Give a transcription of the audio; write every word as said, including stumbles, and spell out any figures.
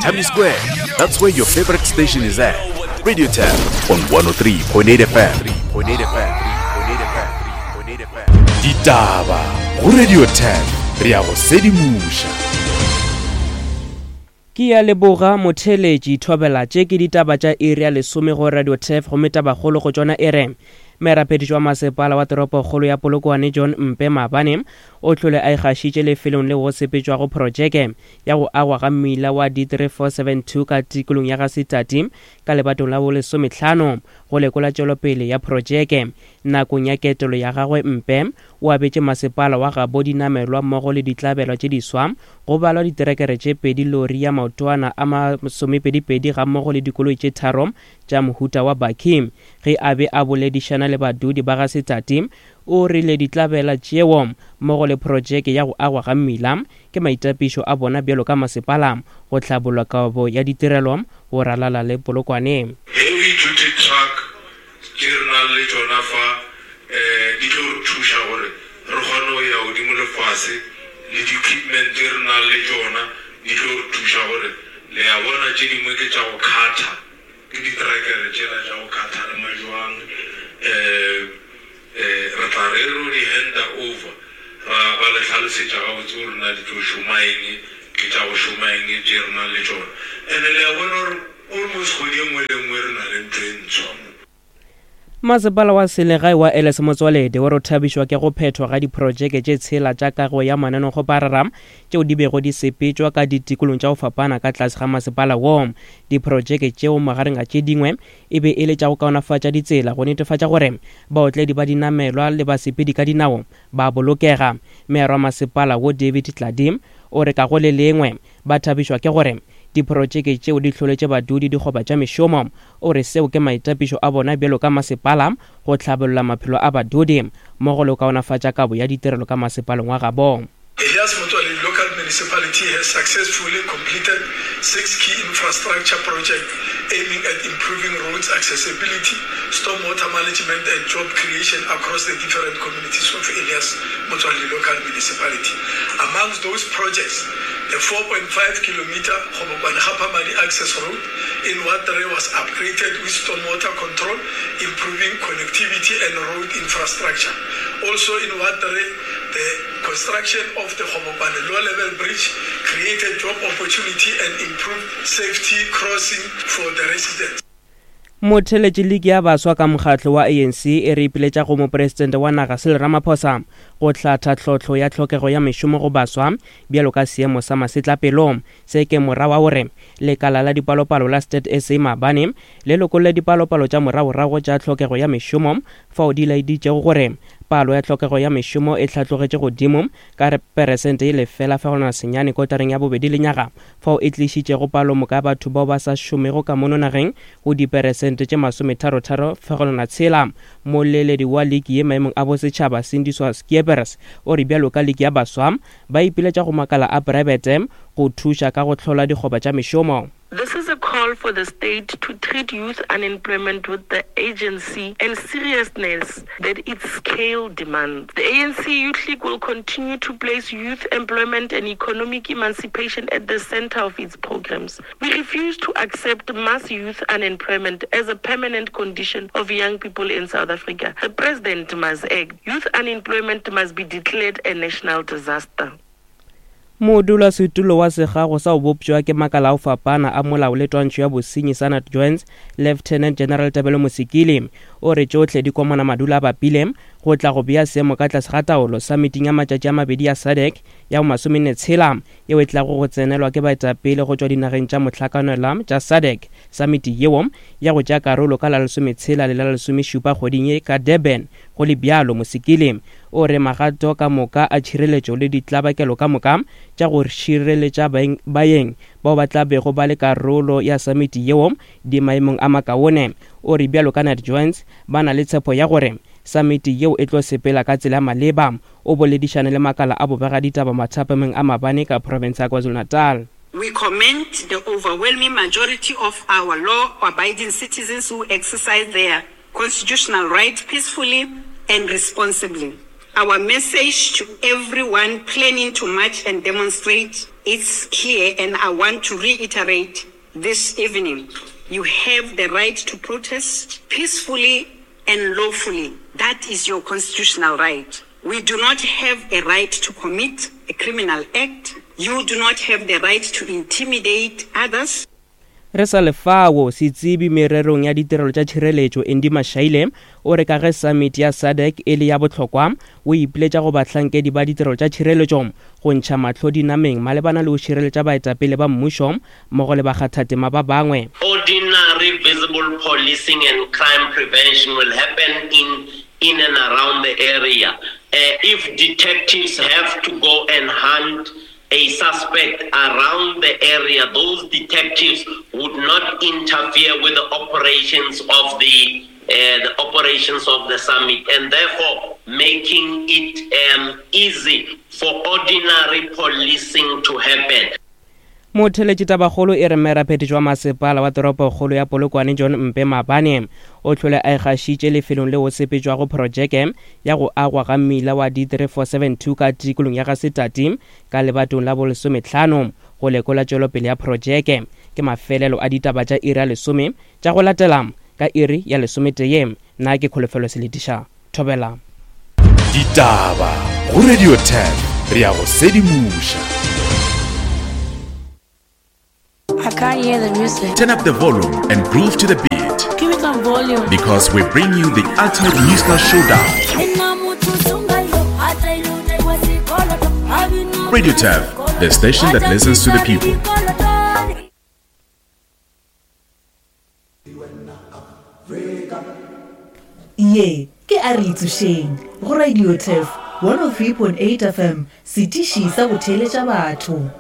Thami Square. That's where your favorite station is at. Radio Tab on one oh three point eight F M. Ditaba go Radio Tab, re ya go sedimoša. Ke ya leboga motheletši thobela tše ke ditaba tša iri ya lesome go Radio Turf, gomme tabakgolo go tšona e re merapediši wa masepala wa toropokgolo ya Polokwane John Mpe Mabane o hlole a ikgašitše lefelong leo go sepetšwago projeke ya go agwa ga mmila wa D three four seven two ka tikolong ya Gasetati ka lebatong la bolesomehlano go lekola tšwelopele ya projeke. Nakong ya ketelo ya gagwe Mpe o abetše masepala wa gabo dinamelwa mmogo le ditlabelwa tše diswa, go balwa diterekere tše pedi, lori ya maotwana a masomepedipedi gammogo le dikoloi tše tharo tša mohuta wa bakkie. Ge a be a boledišana le badudi ba Gasetati, o rile ditlabela tšeo mmogo le projeke ya go agwa ga mmila ke maitapišo a bona bjalo ka masepala go hlabolla kabo ya ditirelo go ralala le Polokwane. Heavy duty truck tše re nang le tšona fa, eh, di tlo re thuša gore re kgone go ya godimo le fase, le di-equipment tše re nang le tšona di tlo re thuša gore le ya bona tše dingwe ke tša go kgatha, ke diterekere tšela tša go kgatha le majwang, eh, eh, re tla re ro di handa over, ra ba le hlalosetša gabotse gore na di tlo šoma eng, ke tša go šoma eng tše re nang le tšona. And-e le ya bona gore almost kgwedi e nngwe le nngwe re na le ntho e ntshwa mo. Masepala wa selegae wa Elias Motsoaledi o re o thabišwa ke go phethwa ga diprojeke tše tshela tša kago ya mananekgoparara tšeo di bego di sepetšwa ka ditikolong tša go fapana ka tlase ga masepala wo. Diprojeke tšeo magareng a tše dingwe e be e le tša go kaonafatša ditsela go netefatša gore baotledi ba dinamelwa le basepedi ka dinao ba bolokega. Meara wa masepala wo David Tladi o re ka go le lengwe ba thabišwa ke gore diprojeke tšeo di hloletše badudi dikgoba tša mešomo. O re seo ke maitapišo a bona bjalo ka masepala go hlabolla maphelo a badudi mmogo le go kaonafatša kabo ya ditirelo ka masepaleng wa gabo. Elias Motsoaledi Local Municipality has successfully completed six key infrastructure projects aiming at improving roads accessibility, stormwater management and job creation across the different communities of Elias Motsoaledi Local Municipality. Amongst those projects, the four point five kilometer Kgobokwane-Gaphamadi access road in Ward three was upgraded with stormwater control, improving connectivity and road infrastructure. Also in Ward three, the construction of the Kgobokwane low-level bridge created job opportunity and improved safety crossing for the residents. Motheletši ligi ya baswa ka mokgatlo wa A N C e re ipiletša go mopresidente wa naga Cyril Ramaphosa go hlatha tlhohlo ya tlhokego ya mešomo go baswa bjalo ka seemo sa masetlapelo. Se ke morago wa gore lekala la dipalopalo la Stats S A maabane le lokolle dipalopalo tša moragorago tša tlhokego ya mešomo fao di laeditšego gore palo ya tlhokego ya mešomo e hlatlogetše godimo ka peresente e lefela fegelwana senyane kotareng ya bobedi lenyaga, fao e tlišitšego palomoka ya batho bao ba sa šomego ka mono nageng go diperesente tše masometharotharo fegelwana tshela. Moleledi wa ligi ye maemong a bosetšhaba Sindiswa Skeepers o re bjalo ka ligi ya baswa ba ipiletša go makala a praebete go thuša ka go hlola dikgoba tša mešomo. This is a call for the state to treat youth unemployment with the urgency and seriousness that its scale demands. The A N C Youth League will continue to place youth employment and economic emancipation at the center of its programs. We refuse to accept mass youth unemployment as a permanent condition of young people in South Africa. The president must act. Youth unemployment must be declared a national disaster. Modulasetulo wa segago sa go bopšwa ke makala a go fapana a molao le twantšho ya bosenyi sa NatJoints, Lieutenant General Tebello Mosikili, o re tšohle di komana madula a bapile go tla go bea seemo ka tlase ga taolo summiting ya matšatši a mabedi ya S A D C ya bo masomenne tshela yeo e tlago go tsenelwa ke baetapele go tšwa dinageng tša mohlakanelwa tša S A D C. Summit yeo ya go tšea karolo ka la lesometshela le la lesomešupa kgweding ye ka Durban. Go le bjalo, Mosikili o re magato ka moka a tšhireletšo le ditlabakelo ka moka tša go šireletša baeng, baeng bao ba tla bego ba le karolo ya summit yeo di maemong a makaone. O re bjalo ka NatJoints ba na le tshepo ya gore summit yeo e tlo sepela ka tsela ya maleba. O boledišane le makala a bobegaditaba mathapameng a mabane ka province ya KwaZulu-Natal. We commend the overwhelming majority of our law-abiding citizens who exercise their constitutional right peacefully and responsibly. Our message to everyone planning to march and demonstrate is clear, and I want to reiterate this evening. You have the right to protest peacefully and lawfully. That is your constitutional right. We do not have a right to commit a criminal act. You do not have the right to intimidate others. Re sa le fao, setsebi mererong ya ditirelo tša tšhireletšo Andy Mashaile o re ka ge summit ya SADC e le ya bohlokwa, o ipiletša go bahlankedi ba ditirelo tša tšhireletšo go ntšha mahlo dinameng malebana le go šireletša baetapele ba mmušo mmogo le bakgathatema ba bangwe. Ordinary visible policing and crime prevention will happen in, in and around the area. Uh, if detectives have to go and hunt a suspect around the area, those detectives would not interfere with the operations of the, uh, the operations of the summit, and therefore making it, um, easy for ordinary policing to happen. Motheletši tabakgolo e re mmeraphethetši wa masepala wa toropokgolo ya Polokwane John Mpe Mabane o hlole a ikgašitše lefelong leo sepetšwago projeke ya go agwa ga mmila wa D three four seven two ka tikolong ya Gasetati ka lebatong la bolesometlhano go lekola tšwelopele ya projeke. Ke mafelelo a ditaba tša iri ya lesome tša go latela ka iri ya lesometee. Nna ke Kholofelo Seletiša. Thobela. Ditaba go Radio ten re ya go sedimoša. I can't hear the music. Turn up the volume and groove to the beat. Give me some volume. Because we bring you the ultimate musical showdown. Radio Turf, the station that listens to the people. Ye ke a re itsošeng go Radio Turf one oh three point eight F M, setiši sa go theeletša batho.